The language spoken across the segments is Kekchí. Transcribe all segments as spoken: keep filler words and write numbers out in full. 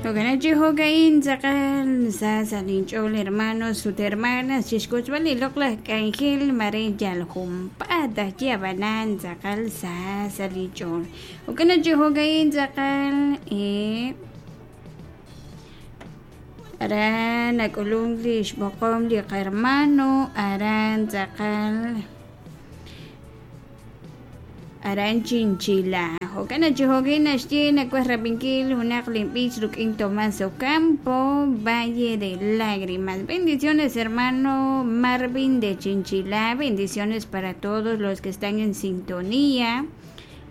Jo'kan chi jo'ka'in tz'aqal sa sa' linch'ool hermanos ut hermanas chixk'utzb'al li loq'laj k'anjel mare yal junpaat ajye ab'anan tz'aqal sa sa' linch'ool. Jo'kan chi jo'ka'in tz'aqal eh aran nak'ulunk li xb'oqom li qarmano aran tz'aqal aran Chinchila. Jo'kan chi jo'kin naxye nakuaj rabinkil junaq linb'ich ruk'in Tomás Ocampo, Valle de Lágrimas. Bendiciones, hermano Marvin de Chinchila. Bendiciones para todos los que están en sintonía.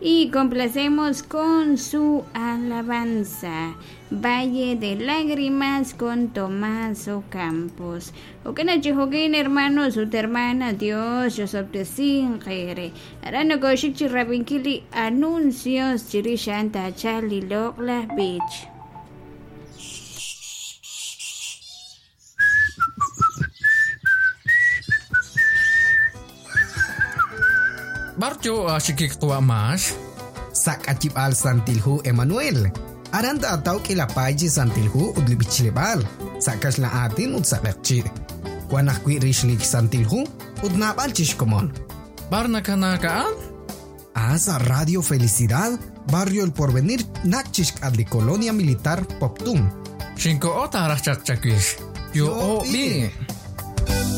Y complacemos con su alabanza. Valle de Lágrimas con Tomás Ocampos. Jo'kan chi jo'kin hermanos ut hermanas, Dios yosob'tesinqere. Aran nokoxik chi rabinkil li anuncios chirix a'an taachal li loq'laj b'ich. Baryo axikik qwamax. Sak'achib'al Santilhu Emanuel. Aran taataw k'ilapay chi Santilhu ut li b'ichleb'aal. Sa' kaxlan aatin ut sa' q'eqchi'. Wan ajwi' rix li Santilhu ut naab'al chixkomon. Bar nakanaka'an? Ah, sa' Radio Felicidad, Barrio El Porvenir, nak chixk'at li Colonia Militar Poptún. Xinko'o taraj chaq chawix. Yo'o b'i.